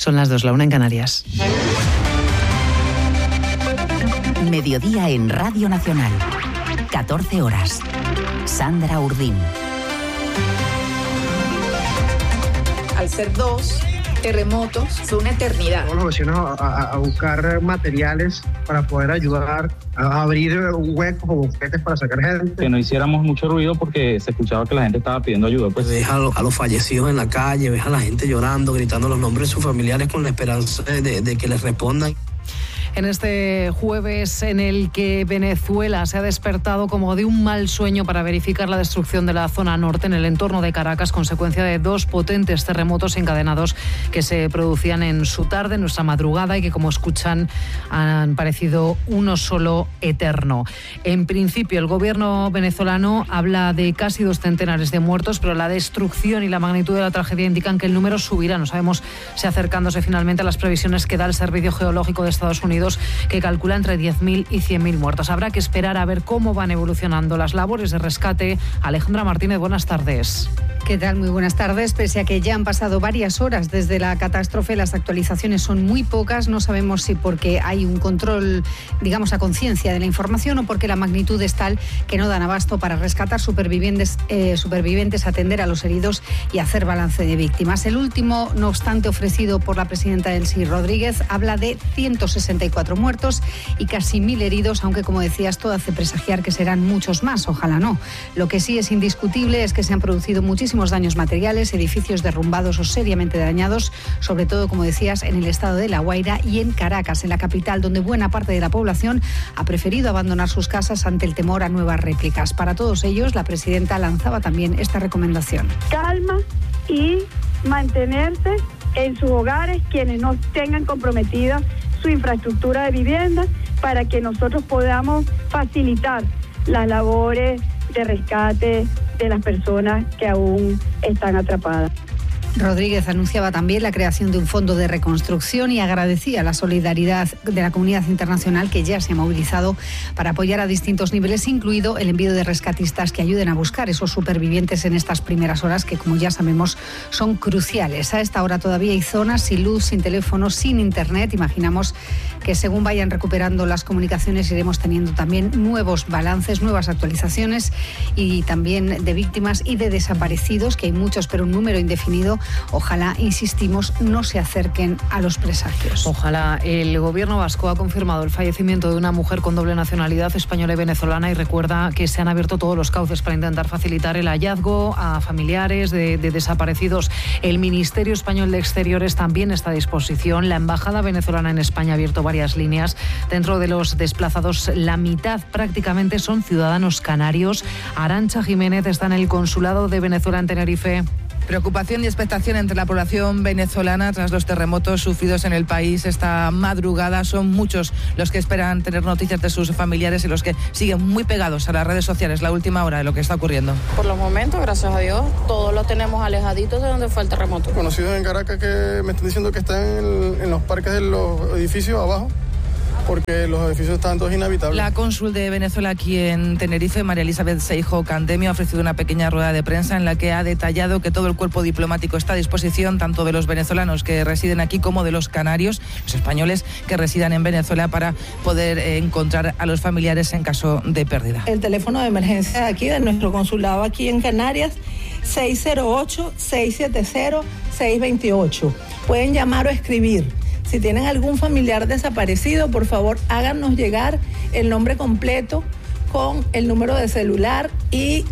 Son las 2, la 1 en Canarias. Mediodía en Radio Nacional. 14 horas. Sandra Urdín. Al ser 2 terremotos, fue una eternidad. Todos los vecinos a buscar materiales para poder ayudar a abrir huecos o bufetes para sacar gente. Que no hiciéramos mucho ruido porque se escuchaba que la gente estaba pidiendo ayuda. Pues ves a los fallecidos en la calle, ves a la gente llorando, gritando los nombres de sus familiares con la esperanza de que les respondan. En este jueves en el que Venezuela se ha despertado como de un mal sueño para verificar la destrucción de la zona norte en el entorno de Caracas, consecuencia de 2 potentes terremotos encadenados que se producían en su tarde, en nuestra madrugada, y que, como escuchan, han parecido uno solo eterno. En principio, el gobierno venezolano habla de casi 2 centenares de muertos, pero la destrucción y la magnitud de la tragedia indican que el número subirá. No sabemos si acercándose finalmente a las previsiones que da el Servicio Geológico de Estados Unidos, que calcula entre 10.000 y 100.000 muertos. Habrá que esperar a ver cómo van evolucionando las labores de rescate. Alejandra Martínez, buenas tardes. ¿Qué tal? Muy buenas tardes. Pese a que ya han pasado varias horas desde la catástrofe, las actualizaciones son muy pocas. No sabemos si porque hay un control, digamos, a conciencia de la información, o porque la magnitud es tal que no dan abasto para rescatar supervivientes, atender a los heridos y hacer balance de víctimas. El último, no obstante, ofrecido por la presidenta Delcy Rodríguez, habla de 164 muertos y casi 1.000 heridos, aunque, como decías, todo hace presagiar que serán muchos más. Ojalá no. Lo que sí es indiscutible es que se han producido muchísimos daños materiales, edificios derrumbados o seriamente dañados, sobre todo, como decías, en el estado de La Guaira y en Caracas, en la capital, donde buena parte de la población ha preferido abandonar sus casas ante el temor a nuevas réplicas. Para todos ellos, la presidenta lanzaba también esta recomendación. Calma y mantenerse en sus hogares quienes no tengan comprometida su infraestructura de vivienda, para que nosotros podamos facilitar las labores de rescate de las personas que aún están atrapadas. Rodríguez anunciaba también la creación de un fondo de reconstrucción y agradecía la solidaridad de la comunidad internacional, que ya se ha movilizado para apoyar a distintos niveles, incluido el envío de rescatistas que ayuden a buscar esos supervivientes en estas primeras horas, que, como ya sabemos, son cruciales. A esta hora todavía hay zonas sin luz, sin teléfono, sin internet. Imaginamos que según vayan recuperando las comunicaciones iremos teniendo también nuevos balances, nuevas actualizaciones, y también de víctimas y de desaparecidos, que hay muchos, pero un número indefinido. Ojalá, insistimos, no se acerquen a los presagios. Ojalá. El gobierno vasco ha confirmado el fallecimiento de una mujer con doble nacionalidad, española y venezolana, y recuerda que se han abierto todos los cauces para intentar facilitar el hallazgo a familiares de desaparecidos. El Ministerio Español de Exteriores también está a disposición. La Embajada venezolana en España ha abierto varias líneas. Dentro de los desplazados, la mitad prácticamente son ciudadanos canarios. Arantxa Jiménez está en el Consulado de Venezuela en Tenerife. Preocupación y expectación entre la población venezolana tras los terremotos sufridos en el país esta madrugada. Son muchos los que esperan tener noticias de sus familiares y los que siguen muy pegados a las redes sociales la última hora de lo que está ocurriendo. Por los momentos, gracias a Dios, todos lo tenemos alejaditos de donde fue el terremoto. Conocidos en Caracas que me están diciendo que están en los parques de los edificios abajo, porque los edificios estaban todos inhabitables. La cónsul de Venezuela aquí en Tenerife, María Elizabeth Seijo Candemio, ha ofrecido una pequeña rueda de prensa en la que ha detallado que todo el cuerpo diplomático está a disposición, tanto de los venezolanos que residen aquí como de los canarios, los españoles que residan en Venezuela, para poder encontrar a los familiares en caso de pérdida. El teléfono de emergencia de aquí, de nuestro consulado aquí en Canarias, 608-670-628. Pueden llamar o escribir. Si tienen algún familiar desaparecido, por favor, háganos llegar el nombre completo con el número de celular y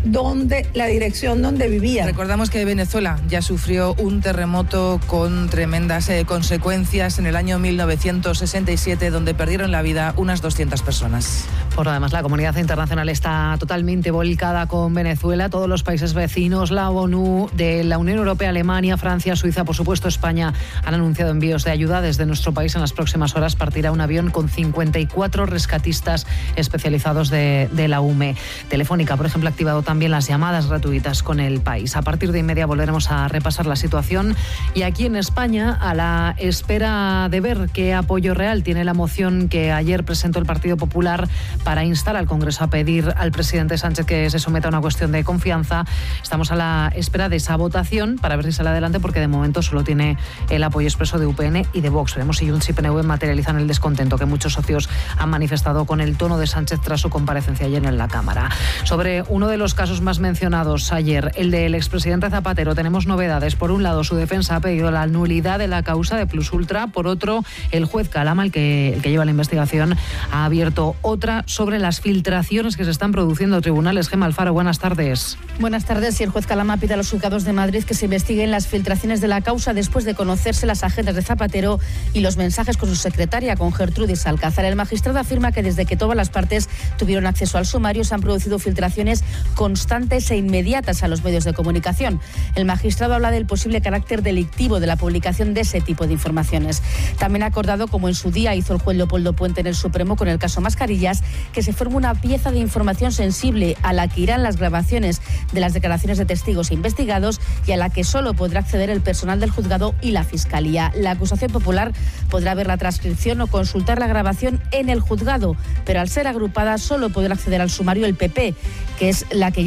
la dirección donde vivía. Recordamos que Venezuela ya sufrió un terremoto con tremendas consecuencias en el año 1967, donde perdieron la vida unas 200 personas. Por lo demás, la comunidad internacional está totalmente volcada con Venezuela. Todos los países vecinos, la ONU, de la Unión Europea, Alemania, Francia, Suiza, por supuesto España, han anunciado envíos de ayuda. Desde nuestro país en las próximas horas partirá un avión con 54 rescatistas especializados de la UME. Telefónica, por ejemplo, activado también las llamadas gratuitas con El País. A partir de 1:30 volveremos a repasar la situación. Y aquí en España, a la espera de ver qué apoyo real tiene la moción que ayer presentó el Partido Popular para instar al Congreso a pedir al presidente Sánchez que se someta a una cuestión de confianza, estamos a la espera de esa votación para ver si sale adelante, porque de momento solo tiene el apoyo expreso de UPN y de Vox. Veremos si Junts y PNV materializan el descontento que muchos socios han manifestado con el tono de Sánchez tras su comparecencia ayer en la Cámara. Sobre uno de los casos más mencionados ayer, el del expresidente Zapatero, tenemos novedades. Por un lado, su defensa ha pedido la nulidad de la causa de Plus Ultra. Por otro, el juez Calama, el que lleva la investigación, ha abierto otra sobre las filtraciones que se están produciendo en tribunales. Gemma Alfaro, buenas tardes. Buenas tardes. Y el juez Calama pide a los juzgados de Madrid que se investiguen las filtraciones de la causa después de conocerse las agendas de Zapatero y los mensajes con su secretaria, con Gertrudis Alcázar. El magistrado afirma que desde que todas las partes tuvieron acceso al sumario se han producido filtraciones constantes e inmediatas a los medios de comunicación. El magistrado habla del posible carácter delictivo de la publicación de ese tipo de informaciones. También ha acordado, como en su día hizo el juez Leopoldo Puente en el Supremo con el caso Mascarillas, que se forme una pieza de información sensible a la que irán las grabaciones de las declaraciones de testigos e investigados y a la que solo podrá acceder el personal del juzgado y la Fiscalía. La acusación popular podrá ver la transcripción o consultar la grabación en el juzgado, pero al ser agrupada solo podrá acceder al sumario el PP, que es el que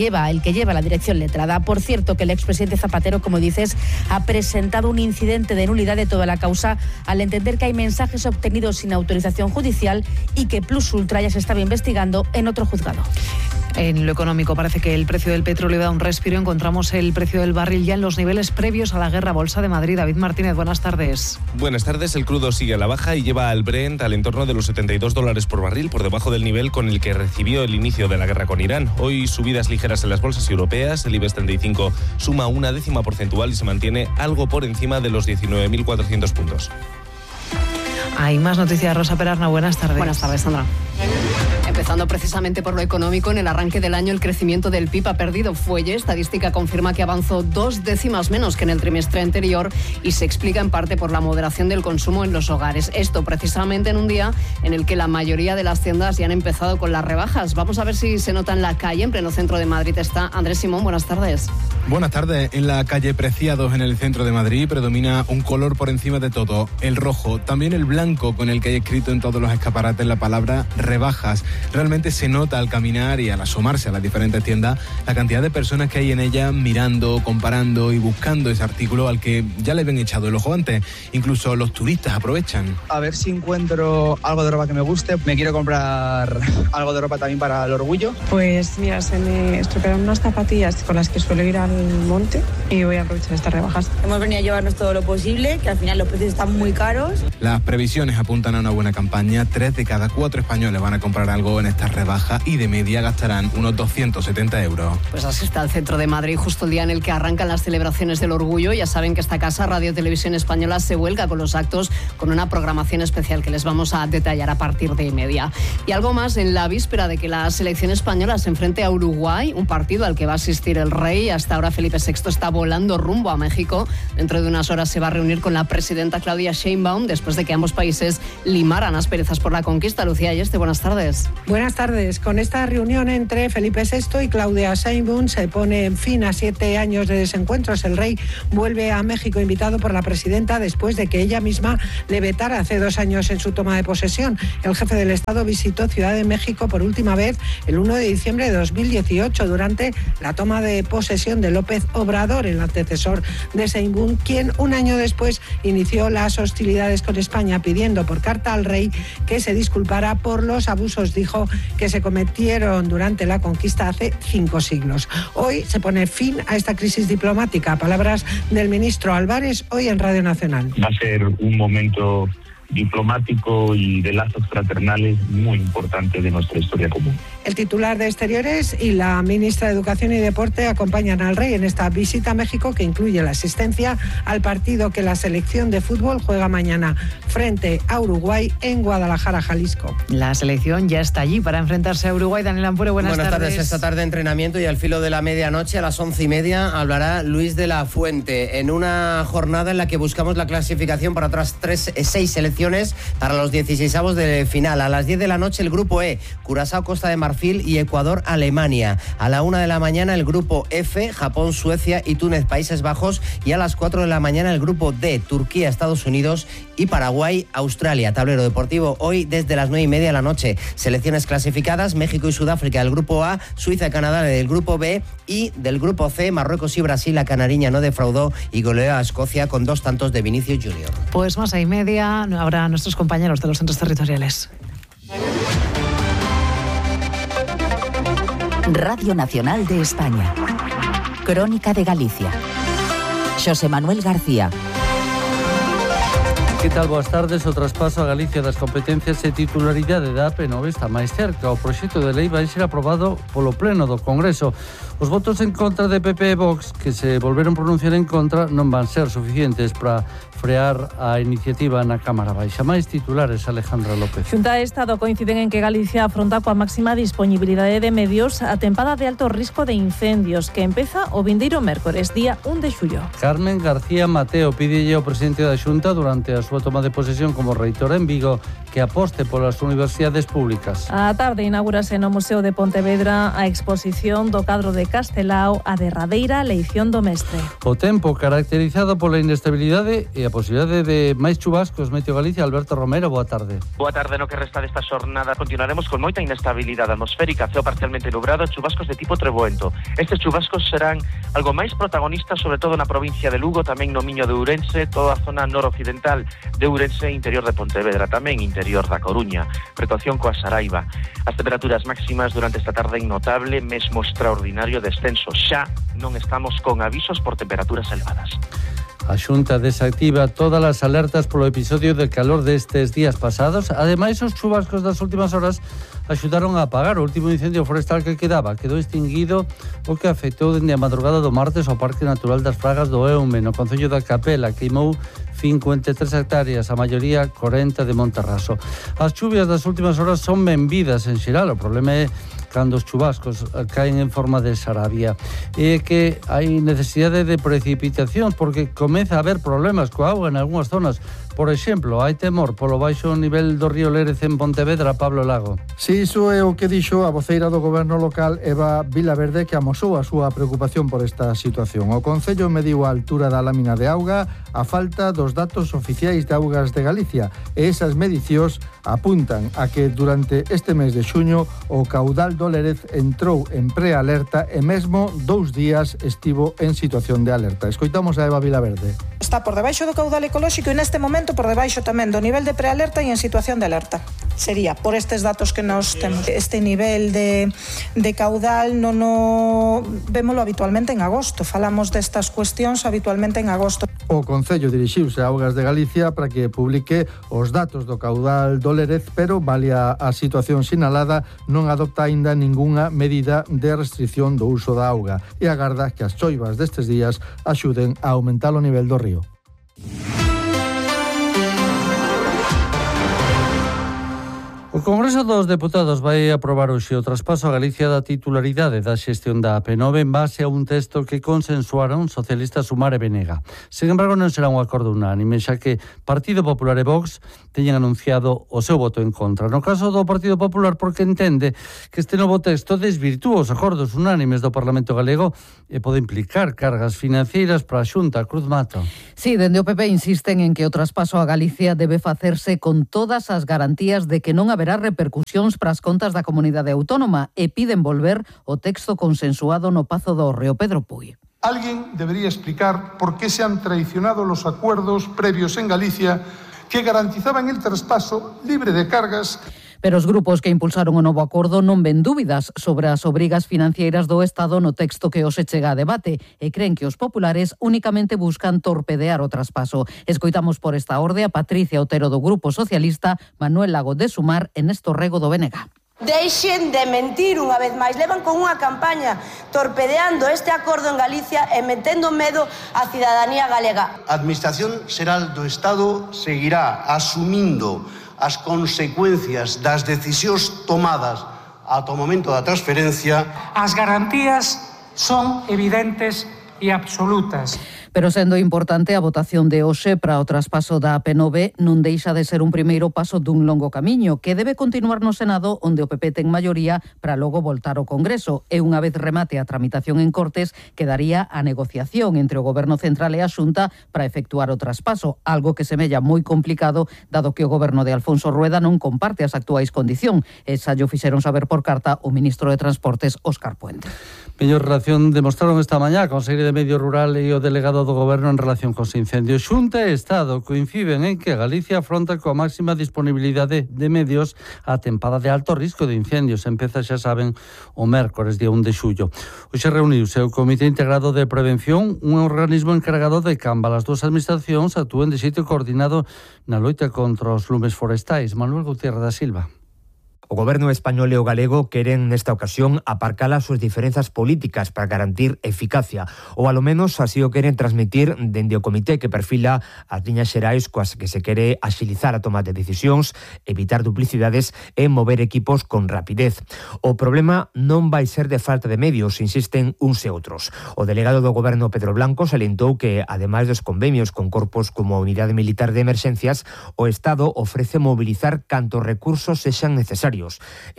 lleva la dirección letrada. Por cierto, que el expresidente Zapatero, como dices, ha presentado un incidente de nulidad de toda la causa al entender que hay mensajes obtenidos sin autorización judicial y que Plus Ultra ya se estaba investigando en otro juzgado. En lo económico, parece que el precio del petróleo da un respiro. Encontramos el precio del barril ya en los niveles previos a la guerra. Bolsa de Madrid. David Martínez, buenas tardes. Buenas tardes. El crudo sigue a la baja y lleva al Brent al entorno de los $72 por barril, por debajo del nivel con el que recibió el inicio de la guerra con Irán. Hoy subidas ligeras en las bolsas europeas. El IBEX 35 suma 0,1 porcentual y se mantiene algo por encima de los 19.400 puntos. Hay más noticias. Rosa Perarna, buenas tardes. Buenas tardes, Sandra. Empezando precisamente por lo económico, en el arranque del año el crecimiento del PIB ha perdido fuelle. Estadística confirma que avanzó 2 décimas menos que en el trimestre anterior y se explica en parte por la moderación del consumo en los hogares. Esto precisamente en un día en el que la mayoría de las tiendas ya han empezado con las rebajas. Vamos a ver si se nota en la calle. En pleno centro de Madrid está Andrés Simón. Buenas tardes. Buenas tardes. En la calle Preciados, en el centro de Madrid, predomina un color por encima de todo, el rojo. También el blanco, con el que hay escrito en todos los escaparates la palabra rebajas. Realmente se nota al caminar y al asomarse a las diferentes tiendas la cantidad de personas que hay en ellas mirando, comparando y buscando ese artículo al que ya le habían echado el ojo antes. Incluso los turistas aprovechan. A ver si encuentro algo de ropa que me guste. Me quiero comprar algo de ropa también para el orgullo. Pues mira, se me estropearon unas zapatillas con las que suelo ir al monte y voy a aprovechar estas rebajas. Hemos venido a llevarnos todo lo posible, que al final los precios están muy caros. Las previsiones apuntan a una buena campaña. 3 de cada 4 españoles van a comprar algo en estas rebajas y de media gastarán unos 270 euros. Pues así está el centro de Madrid, justo el día en el que arrancan las celebraciones del orgullo. Ya saben que esta casa, Radio Televisión Española, se vuelca con los actos, con una programación especial que les vamos a detallar a partir de 1:30. Y algo más, en la víspera de que la selección española se enfrente a Uruguay, un partido al que va a asistir el rey. Hasta ahora Felipe VI está volando rumbo a México. Dentro de unas horas se va a reunir con la presidenta Claudia Sheinbaum, después de que ambos países limaran asperezas por la conquista. Lucía Ayeste, buenas tardes. Buenas tardes. Con esta reunión entre Felipe VI y Claudia Sheinbaum se pone fin a 7 años de desencuentros. El rey vuelve a México invitado por la presidenta después de que ella misma le vetara hace 2 años en su toma de posesión. El jefe del Estado visitó Ciudad de México por última vez el 1 de diciembre de 2018 durante la toma de posesión de López Obrador, el antecesor de Sheinbaum, quien un año después inició las hostilidades con España pidiendo por carta al rey que se disculpara por los abusos, dijo, que se cometieron durante la conquista hace 5 siglos. Hoy se pone fin a esta crisis diplomática. Palabras del ministro Álvarez hoy en Radio Nacional. Va a ser un momento diplomático y de lazos fraternales muy importante de nuestra historia común. El titular de Exteriores y la ministra de Educación y Deporte acompañan al rey en esta visita a México, que incluye la asistencia al partido que la selección de fútbol juega mañana frente a Uruguay en Guadalajara, Jalisco. La selección ya está allí para enfrentarse a Uruguay. Daniel Ampure, buenas tardes. Esta tarde entrenamiento y al filo de la medianoche, a las 11:30, hablará Luis de la Fuente en una jornada en la que buscamos la clasificación para otras 6 selecciones posiciones para los 16avos de final. A las 10 de la noche el grupo E, Curazao, Costa de Marfil y Ecuador, Alemania. A la 1 de la mañana el grupo F, Japón, Suecia y Túnez, Países Bajos. Y a las 4 de la mañana el grupo D, Turquía, Estados Unidos y Paraguay, Australia. Tablero deportivo hoy desde las 9:30 de la noche. Selecciones clasificadas: México y Sudáfrica del grupo A, Suiza y Canadá del grupo B, y del grupo C, Marruecos y Brasil. La canariña no defraudó y goleó a Escocia con 2 tantos de Vinicius Junior. Pues más 6:30 habrá nuestros compañeros de los centros territoriales. Radio Nacional de España. Crónica de Galicia. Xosé Manuel García. Que tal? Boas tardes. O traspaso a Galicia das competencias e titularidade da PNV está máis cerca. O proxecto de lei vai ser aprobado polo Pleno do Congreso. Os votos en contra de PP e Vox, que se volveron pronunciar en contra, non van ser suficientes para frear a iniciativa na Cámara Baixa. Máis titulares, Alejandra López. Xunta e Estado coinciden en que Galicia afronta coa máxima disponibilidade de medios a tempada de alto risco de incendios, que empeza o vindeiro mércores, día 1 de xullo. Carmen García Mateo pídelle ao presidente da Xunta durante a súa toma de posesión como reitora en Vigo que aposte polas universidades públicas. A tarde inaugurase no Museo de Pontevedra a exposición do cadro de Castelao, a derradeira leición do mestre. O tempo caracterizado pola inestabilidade e a posibilidade de máis chubascos. Meteo Galicia, Alberto Romero, boa tarde. Boa tarde. No que resta desta xornada continuaremos con moita inestabilidade atmosférica, ceo parcialmente nublado, chubascos de tipo treboento. Estes chubascos serán algo máis protagonistas, sobre todo na provincia de Lugo, tamén no Miño de Ourense, toda a zona noroccidental de Ourense, interior de Pontevedra, tamén interior da Coruña. Precaución coa Saraiva. As temperaturas máximas durante esta tarde notable, mesmo extraordinario descenso. Xa non estamos con avisos por temperaturas elevadas. A Xunta desactiva todas as alertas polo episodio de calor destes días pasados. Ademais, os chubascos das últimas horas axudaron a apagar o último incendio forestal que quedou extinguido, o que afectou dende a madrugada do martes ao Parque Natural das Fragas do Eume, no concello da Capela. Queimou 53 hectáreas, a maioría 40 de Monterraso. As chuvias das últimas horas son benvidas en xeral. O problema é cando os chubascos caen en forma de sarabia. E que hai necesidade de precipitacións porque comeza a haber problemas coa auga en algunhas zonas. Por exemplo, hai temor polo baixo nivel do río Lérez en Pontevedra, Pablo Lago. Si, iso é o que dixo a voceira do goberno local, Eva Vilaverde, que amosou a súa preocupación por esta situación. O Concello mediu a altura da lámina de auga a falta dos datos oficiais de augas de Galicia, e esas medicións apuntan a que durante este mes de xuño o caudal do Lérez entrou en prealerta e mesmo 2 días estivo en situación de alerta. Escoitamos a Eva Vilaverde. Está por debaixo do caudal ecolóxico e neste momento por debaixo tamén do nivel de prealerta e en situación de alerta. Sería por estes datos que nos temos. Este nivel de caudal non o vémolo habitualmente en agosto. Falamos destas cuestións habitualmente en agosto. O Concello dirixiuse a Augas de Galicia para que publique os datos do caudal do Lérez, pero valia a situación sinalada, non adopta aínda ningunha medida de restricción do uso da auga e agarda que as choivas destes días axuden a aumentar o nivel do río. O Congreso dos Deputados vai aprobar hoxe o traspaso a Galicia da titularidade da xestión da PNV en base a un texto que consensuaron socialistas Sumar e Venega. Sen embargo, non será un acordo unánime, xa que Partido Popular e Vox teñen anunciado o seu voto en contra. No caso do Partido Popular, porque entende que este novo texto desvirtúa os acordos unánimes do Parlamento Galego e pode implicar cargas financeiras para a Xunta. Cruz Mato. Sí, dende o PP insisten en que o traspaso a Galicia debe facerse con todas as garantías de que non haberá repercusións para as contas da comunidade autónoma e piden volver o texto consensuado no Pazo do Hórreo. Pedro Puy. Alguien debería explicar por qué se han traicionado los acuerdos previos en Galicia que garantizaban el traspaso libre de cargas. Pero os grupos que impulsaron o novo acordo non ven dúbidas sobre as obrigas financeiras do Estado no texto que hoxe chega a debate e creen que os populares únicamente buscan torpedear o traspaso. Escoitamos por esta orde a Patricia Otero do Grupo Socialista, Manuel Lago de Sumar e Néstor Rego do BNG. Deixen de mentir unha vez máis. Levan con unha campaña torpedeando este acordo en Galicia e metendo medo á cidadanía galega. A Administración Xeral do Estado seguirá asumindo as consecuencias das decisións tomadas ata o momento da transferencia. As garantías son evidentes e absolutas. Pero sendo importante a votación de hoxe para o traspaso da AP9 non deixa de ser un primeiro paso dun longo camiño que debe continuar no Senado, onde o PP ten maioría para logo voltar ao Congreso. E unha vez remate a tramitación en Cortes, quedaría a negociación entre o Goberno Central e a Xunta para efectuar o traspaso, algo que semella moi complicado dado que o Goberno de Alfonso Rueda non comparte as actuais condicións. E xa llo fixeron saber por carta o ministro de Transportes, Óscar Puente. Mellor relación demostraron esta mañá a Consellería de Medio Rural e o delegado do Goberno en relación cos incendios. Xunta e Estado coinciden en que Galicia afronta coa máxima disponibilidade de medios a tempada de alto risco de incendios. Empeza, xa saben, o mércores, día 1 de xullo. Hoxe reuniuse o Comité Integrado de Prevención, un organismo encargado de que ambas as dúas administracións actúen de xeito coordinado na loita contra os lumes forestais. Manuel Gutiérrez da Silva. O Goberno español e o galego queren nesta ocasión aparcar as súas diferenzas políticas para garantir eficacia, ou alo menos así o queren transmitir dende o comité que perfila as liñas xerais coas que se quere axilizar a toma de decisións, evitar duplicidades e mover equipos con rapidez. O problema non vai ser de falta de medios, insisten uns e outros. O delegado do Goberno, Pedro Blanco, salientou que, ademais dos convenios con corpos como a Unidade Militar de Emerxencias, o Estado ofrece mobilizar cantos recursos sexan necesarios.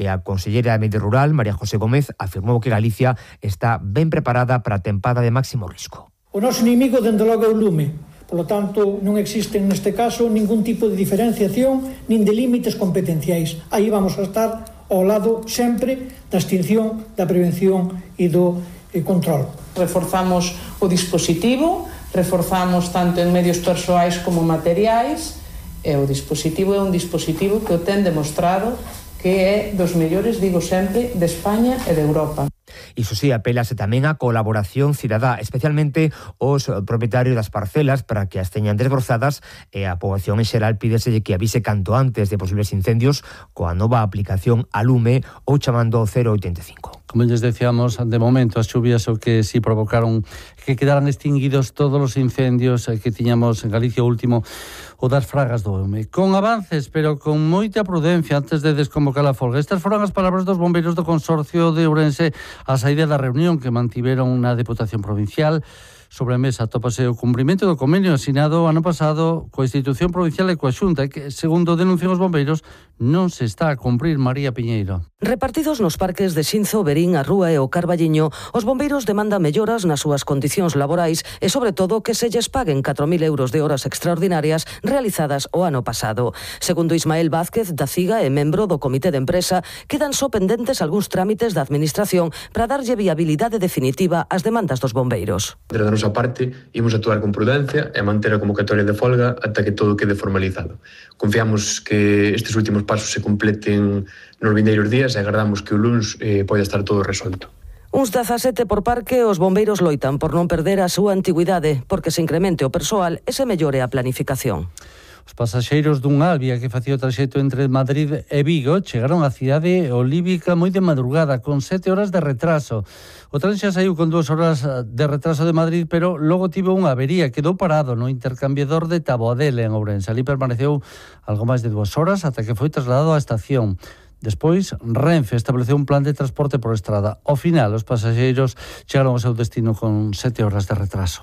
E a consellera de Medio Rural, María José Gómez, afirmou que Galicia está ben preparada para a tempada de máximo risco. O noso inimigo, dende logo, é o lume. Por lo tanto, non existen neste caso ningún tipo de diferenciación nin de límites competenciais. Aí vamos a estar ao lado sempre da extinción, da prevención e do control. Reforzamos o dispositivo, reforzamos tanto en medios persoais como materiais, e o dispositivo é un dispositivo que o ten demostrado que é dos mellores, digo sempre, de España e de Europa. Iso sí, apelase tamén a colaboración cidadá, especialmente os propietarios das parcelas para que as teñan desbrozadas, e a poboación en xeral pídeselle que avise canto antes de posibles incendios coa nova aplicación a lume ou chamando 085. Como les decíamos, de momento as chuvias o que sí provocaron que quedaran extinguidos todos os incendios que tiñamos en Galicia, o último o das Fragas do Eume. Con avances, pero con moita prudencia antes de desconvocar a folga. Estas foron as palabras dos bombeiros do Consorcio de Ourense a saída da reunión que mantiveron na Deputación Provincial. Sobre a mesa atópase o cumprimento do convenio asinado ano pasado coa institución provincial e coa Xunta, que, segundo denuncian os bombeiros, non se está a cumprir. María Piñeiro. Repartidos nos parques de Xinzo, Berín, a Rúa e o Carballiño, os bombeiros demandan melloras nas súas condicións laborais e, sobre todo, que se lles paguen 4.000 euros de horas extraordinarias realizadas o ano pasado. Segundo Ismael Vázquez, da CIGA e membro do Comité de Empresa, quedan só pendentes algúns trámites da Administración para darlle viabilidade definitiva ás demandas dos bombeiros. Da nosa parte, imos actuar con prudencia e manter a convocatoria de folga ata que todo quede formalizado. Confiamos que estes últimos pasos se completen nos vindeiros días e agardamos que o luns poida estar todo resolto. Uns 17 por parque, os bombeiros loitan por non perder a súa antigüidade, porque se incremente o persoal e se mellore a planificación. Os pasaxeiros dun Albia que facía o traxecto entre Madrid e Vigo chegaron á cidade olívica moi de madrugada, con 7 horas de retraso. O tren xa saiu con 2 horas de retraso de Madrid, pero logo tivo unha avería, quedou parado no intercambiador de Taboadela en Ourense. Ali permaneceu algo máis de 2 horas ata que foi trasladado á estación. Despois, Renfe estableceu un plan de transporte por estrada. Ao final, os pasaxeiros chegaron ao seu destino con 7 horas de retraso.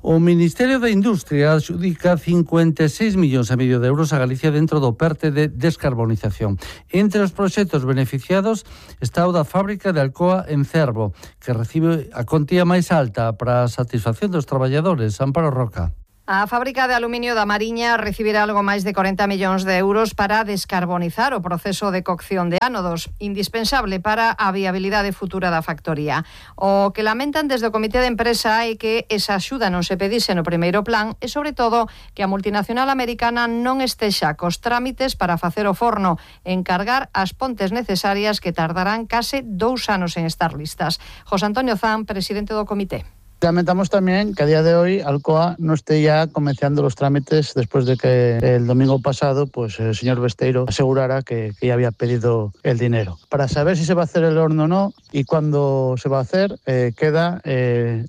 O Ministerio de Industria adxudica 56,5 millóns de euros a Galicia dentro do PERTE de descarbonización. Entre os proxectos beneficiados está o da fábrica de Alcoa en Cervo, que recibe a contía máis alta para a satisfacción dos traballadores. Amparo Roca. A fábrica de aluminio da Mariña recibirá algo máis de 40 millóns de euros para descarbonizar o proceso de cocción de ánodos, indispensable para a viabilidade futura da factoría. O que lamentan desde o Comité de Empresa é que esa axuda non se pedise no primeiro plan e, sobre todo, que a multinacional americana non estexa cos trámites para facer o forno e encargar as pontes necesarias que tardarán case 2 anos en estar listas. José Antonio Zan, presidente do comité. Lamentamos también que a día de hoy Alcoa no esté ya comenzando los trámites después de que el domingo pasado pues el señor Besteiro asegurara que ya había pedido el dinero. Para saber si se va a hacer el horno o no y cuándo se va a hacer, queda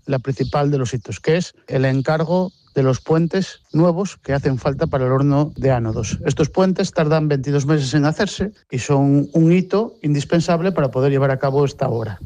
la principal de los hitos, que es el encargo de los puentes nuevos que hacen falta para el horno de ánodos. Estos puentes tardan 22 meses en hacerse y son un hito indispensable para poder llevar a cabo esta obra.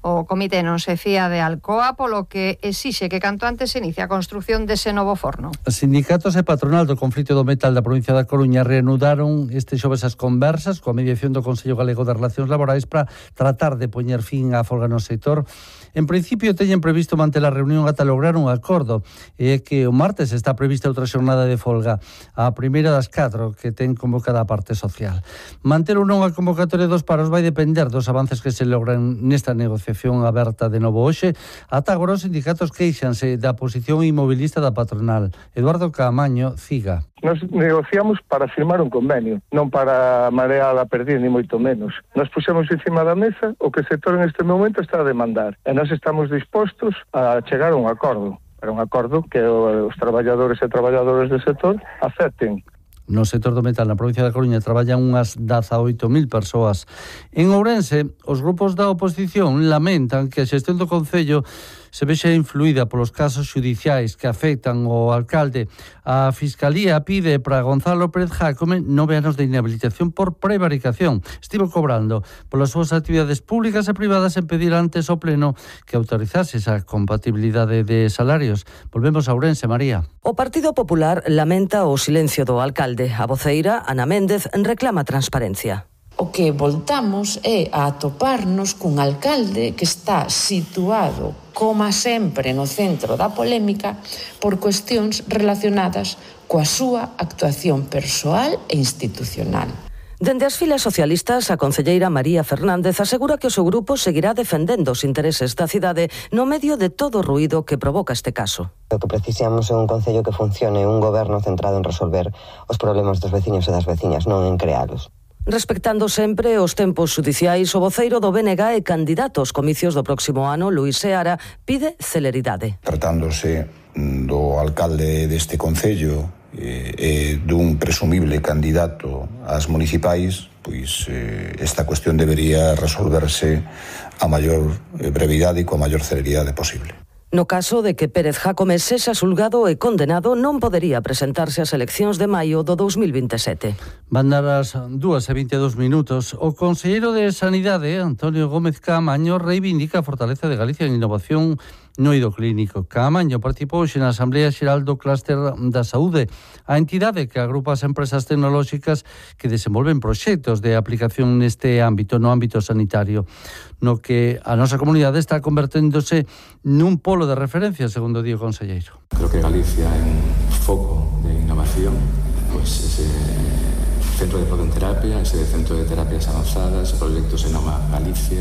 O comité non se fía de Alcoa, polo que exixe que canto antes se inicie a construción dese novo forno. Sindicatos e patronal do conflito do metal da provincia da Coruña reanudaron este xoves as conversas coa mediación do Consello Galego de Relacións Laborais para tratar de poñer fin á folga no sector. En principio teñen previsto manter a reunión ata lograr un acordo, e que o martes está prevista outra xornada de folga, a primeira das 4 que ten convocada a parte social. Manter ou non a convocatoria dos paros vai depender dos avances que se logran nesta negociación aberta de novo hoxe. Ata agora os sindicatos queixanse da posición inmobilista da patronal. Eduardo Caamaño, CIGA. Nos negociamos para firmar un convenio, non para marear a perder, ni moito menos. Nos puxemos encima da mesa o que o sector en este momento está a demandar, e nós estamos dispostos a chegar a un acordo, pero un acordo que os traballadores e traballadoras do sector acepten. No sector do metal na provincia da Coruña traballan unhas 18.000 persoas. En Ourense, os grupos da oposición lamentan que a xestión do Concello se vexa influída polos casos xudiciais que afectan ao alcalde. A Fiscalía pide para Gonzalo Pérez Jácome 9 anos de inhabilitación por prevaricación. Estivo cobrando polas súas actividades públicas e privadas en pedir antes ao Pleno que autorizase esa compatibilidade de salarios. Volvemos a Ourense, María. O Partido Popular lamenta o silencio do alcalde. A voceira, Ana Méndez, reclama transparencia. O que voltamos é a atoparnos cun alcalde que está situado, como sempre, no centro da polémica por cuestións relacionadas coa súa actuación persoal e institucional. Dende as filas socialistas, a concelleira María Fernández asegura que o seu grupo seguirá defendendo os intereses da cidade no medio de todo o ruído que provoca este caso. O que precisamos é un concello que funcione, un goberno centrado en resolver os problemas dos veciños e das veciñas, non en crealos. Respectando sempre os tempos xudiciais, o voceiro do BNG e candidato aos comicios do próximo ano, Luís Seara, pide celeridade. Tratándose do alcalde deste concello e dun presumible candidato ás municipais, pois esta cuestión debería resolverse a maior brevidade e coa maior celeridade posible. No caso de que Pérez Jácome sexa xulgado e condenado, non podería presentarse ás eleccións de maio do 2027. Van dar as 2:22. O conselleiro de Sanidade, Antonio Gómez Caamaño, reivindica a fortaleza de Galicia en innovación no eido clínico. Caamaño participou hoxe na Asamblea Xeral do Clúster da Saúde, a entidade que agrupa as empresas tecnolóxicas que desenvolven proxectos de aplicación neste ámbito, no ámbito sanitario, no que a nosa comunidade está converténdose nun polo de referencia, segundo di o conselleiro. Creo que Galicia é un foco de innovación, pois ese centro de protonterapia, ese centro de terapias avanzadas, ese proxecto se noma Galicia,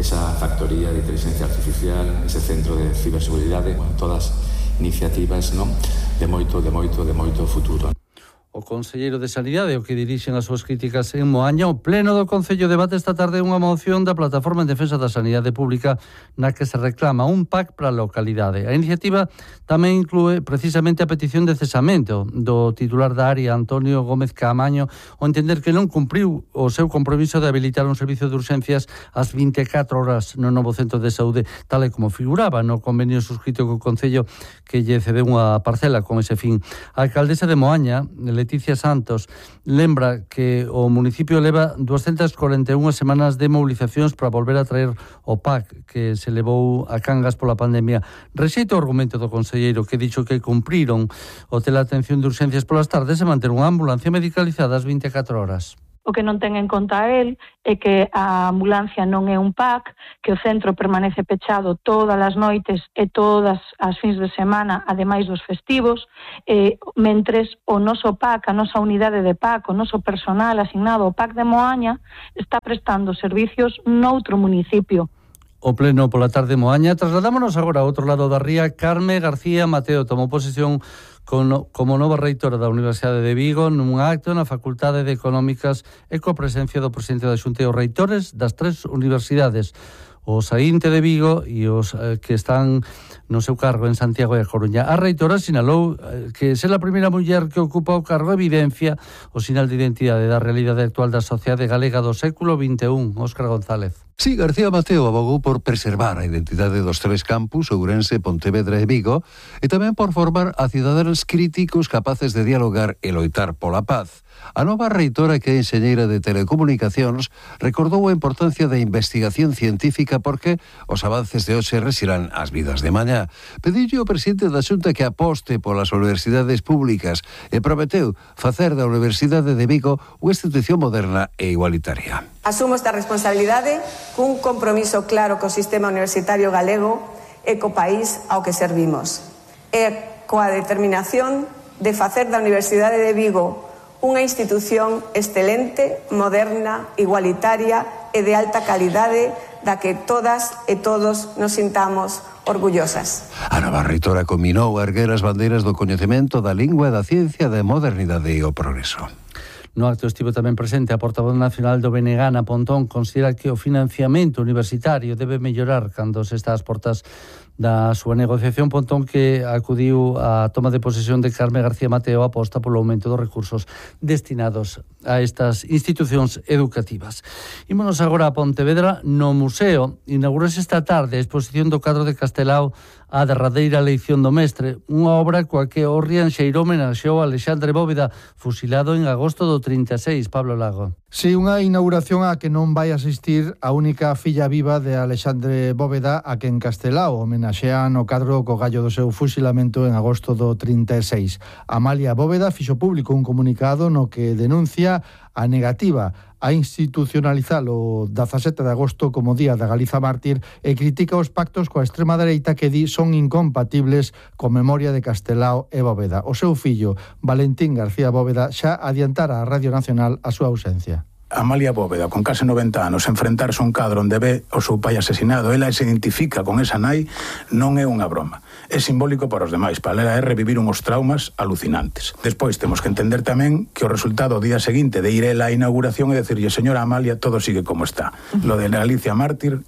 esa factoría de inteligencia artificial, ese centro de ciberseguridade, todas iniciativas, non, de moito futuro. O conselleiro de Sanidade, o que dirixen as súas críticas en Moaña, o pleno do Concello debate esta tarde unha moción da Plataforma en Defensa da Sanidade Pública na que se reclama un PAC para a localidade. A iniciativa tamén inclúe precisamente a petición de cesamento do titular da área, Antonio Gómez Caamaño, ao entender que non cumpriu o seu compromiso de habilitar un servicio de urxencias ás 24 horas no novo centro de saúde, tal e como figuraba no convenio suscrito co Concello que lle cedeu unha parcela con ese fin. A alcaldesa de Moaña, Leticia Santos, lembra que o municipio leva 241 semanas de movilizacións para volver a traer o PAC que se levou a Cangas pola pandemia. Rexeita o argumento do conselleiro que dixo que cumpriron o teleatención de urxencias polas tardes e manter unha ambulancia medicalizada ás 24 horas. O que non ten en conta el é que a ambulancia non é un PAC, que o centro permanece pechado todas as noites e todas as fins de semana, ademais dos festivos, mentres o noso PAC, a nosa unidade de PAC, o noso personal asignado ao PAC de Moaña, está prestando servicios noutro municipio. O pleno pola tarde Moaña. Trasladámonos agora ao outro lado da ría. Carme García Mateo tomou posesión como nova reitora da Universidade de Vigo nun acto na Facultade de Económicas e coa presencia do presidente da Xunta e os reitores das 3 universidades, o saínte de Vigo e os que están no seu cargo en Santiago e a Coruña. A reitora sinalou que ser a primeira muller que ocupa o cargo evidencia o sinal de identidade da realidade actual da sociedade galega do século XXI. Óscar González. Sí, García Mateo abogou por preservar a identidade dos tres campus, Ourense, Pontevedra e Vigo, e tamén por formar a cidadáns críticos capaces de dialogar e loitar pola paz. A nova reitora, que é enxeñeira de telecomunicacións, recordou a importancia da investigación científica porque os avances de hoxe resirán as vidas de mañá. Pediulle ao presidente da Xunta que aposte polas universidades públicas e prometeu facer da Universidade de Vigo unha institución moderna e igualitaria. Asumo esta responsabilidade cun compromiso claro co sistema universitario galego e co país ao que servimos. E coa determinación de facer da Universidade de Vigo unha institución excelente, moderna, igualitaria e de alta calidade da que todas e todos nos sintamos orgullosas. A nova reitora combinou a erguer as bandeiras do coñecemento, da lingua e da ciencia, da modernidade e o progreso. No acto estivo tamén presente a portavoz nacional do BNG, Ana Pontón, considera que o financiamento universitario debe mellorar cando se está ás portas da súa negociación. Pontón, que acudiu á toma de posesión de Carme García Mateo, aposta polo aumento dos recursos destinados a estas institucións educativas. Ímonos agora a Pontevedra. No museo inaugurase esta tarde a exposición do cadro de Castelao A derradeira leición do mestre, unha obra coa que o Rianxeiro homenaxeou a Alexandre Bóveda, fusilado en agosto do 36, Pablo Lago. Si, unha inauguración a que non vai asistir a única filla viva de Alexandre Bóveda, a que en Castelao homenaxean o cadro co gallo do seu fusilamento en agosto do 36. Amalia Bóveda fixo público un comunicado no que denuncia a negativa a institucionalizar o 17 de agosto como Día da Galiza Mártir e critica os pactos coa extrema dereita que di son incompatibles co memoria de Castelao e Bóveda. O seu fillo, Valentín García Bóveda, xa adiantara a Radio Nacional a súa ausencia. Amalia Bóveda, con case 90 anos, enfrentarse a un cadro onde ve o seu pai asesinado, ela se identifica con esa nai, non é unha broma. É simbólico para os demais, para ela é revivir uns traumas alucinantes. Despois temos que entender tamén que o resultado o día seguinte de ir ela á inauguración é decirlle, señora Amalia, todo sigue como está. Lo de Galicia Mártir,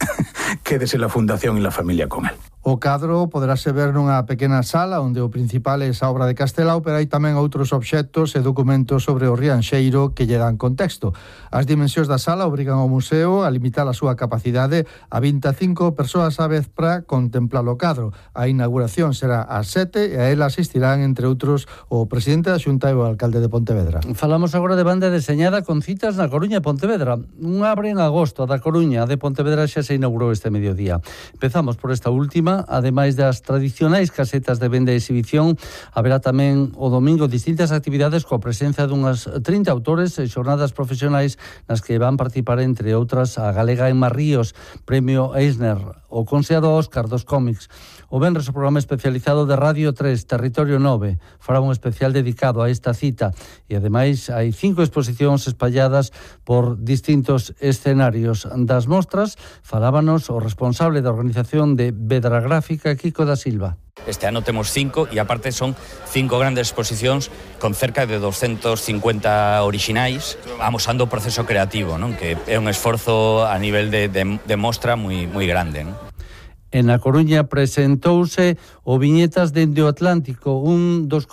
quédese la fundación e la familia con él. O cadro poderase ver nunha pequena sala onde o principal é esa obra de Castelao, pero hai tamén outros obxectos e documentos sobre o Rianxeiro que lle dan contexto. As dimensións da sala obrigan ao museo a limitar a súa capacidade a 25 persoas á vez para contemplar o cadro. A inauguración será ás 7 e a ela asistirán, entre outros, o presidente da Xunta e o alcalde de Pontevedra. Falamos agora de banda deseñada con citas na Coruña e Pontevedra. Un abre en agosto, a da Coruña, a de Pontevedra xa se inaugurou este mediodía. Empezamos por esta última. Ademais das tradicionais casetas de venda e exhibición, haberá tamén o domingo distintas actividades coa presenza dunhas 30 autores e xornadas profesionais nas que van participar, entre outras, a galega Emma Ríos, Premio Eisner, o considerado Óscar dos cómics. O venres o programa especializado de Radio 3, Territorio 9, fará un especial dedicado a esta cita e, ademais, hai 5 exposicións espalladas por distintos escenarios. Das mostras falábanos o responsable da organización de Vedra Gráfica, Kiko da Silva. Este ano temos 5 e aparte son 5 grandes exposicións con cerca de 250 orixinais amosando o proceso creativo, non? Que é un esforzo a nivel de mostra moi grande, non? En A Coruña presentouse o Viñetas dende o Atlántico, un dos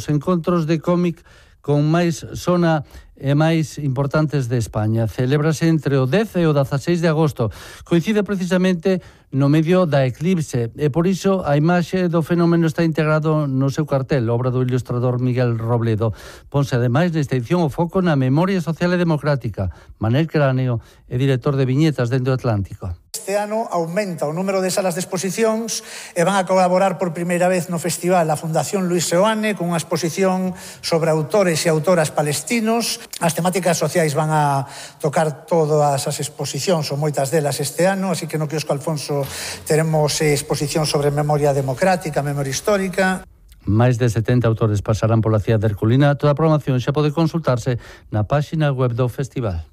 encontros de cómic con máis sona e máis importantes de España. Celébrase entre o 10 e o 16 de agosto. Coincide precisamente no medio da eclipse e por iso a imaxe do fenómeno está integrado no seu cartel, obra do ilustrador Miguel Robledo. Ponse ademais nesta edición o foco na memoria social e democrática. Manel Cráneo é director de Viñetas dende o Atlántico. Este ano aumenta o número de salas de exposicións e van a colaborar por primeira vez no festival a Fundación Luis Seoane con unha exposición sobre autores e autoras palestinos. As temáticas sociais van a tocar todas as exposicións ou moitas delas este ano, así que no quiosco Alfonso teremos exposición sobre memoria democrática, memoria histórica. Máis de 70 autores pasarán pola cidade de Herculina. Toda a programación xa pode consultarse na páxina web do festival.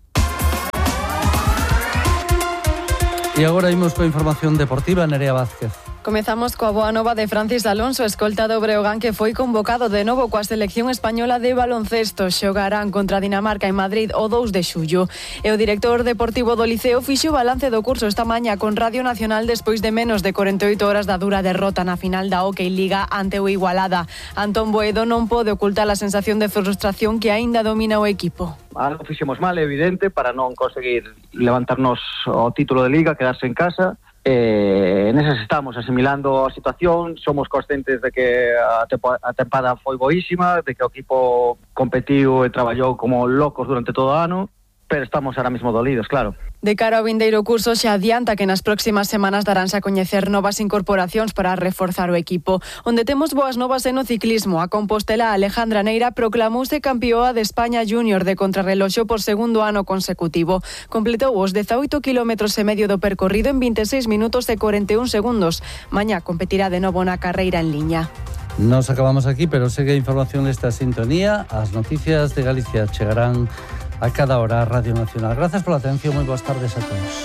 E agora imos coa información deportiva, Nerea Vázquez. Comezamos coa boa nova de Francis Alonso, escolta do Breogán, que foi convocado de novo coa selección española de baloncesto. Xogarán contra Dinamarca en Madrid o 2 de xullo. E o director deportivo do Liceo fixo balance do curso esta mañá con Radio Nacional despois de menos de 48 horas da dura derrota na final da Hockey Liga ante o Igualada. Antón Boedo non pode ocultar a sensación de frustración que aínda domina o equipo. Algo fixemos mal, é evidente, para non conseguir levantarnos o título de Liga, quedarse en casa. Nesas estamos asimilando a situación, somos conscientes de que a tempada foi boísima, de que o equipo competiu e traballou como locos durante todo o ano, pero estamos ahora mismo dolidos, claro. De cara ao vindeiro curso xa adianta que nas próximas semanas daránse a coñecer novas incorporacións para reforzar o equipo. Onde temos boas novas é no ciclismo. A compostela Alejandra Neira proclamouse campioa de España Júnior de contrarreloxo por segundo ano consecutivo. Completou os 18 km e medio do percorrido en 26 minutos e 41 segundos. Mañá competirá de novo na carreira en liña. Nos acabamos aquí, pero segue a información nesta sintonía. As noticias de Galicia chegarán a cada hora a Radio Nacional. Gracias pola atención, moi boas tardes a todos.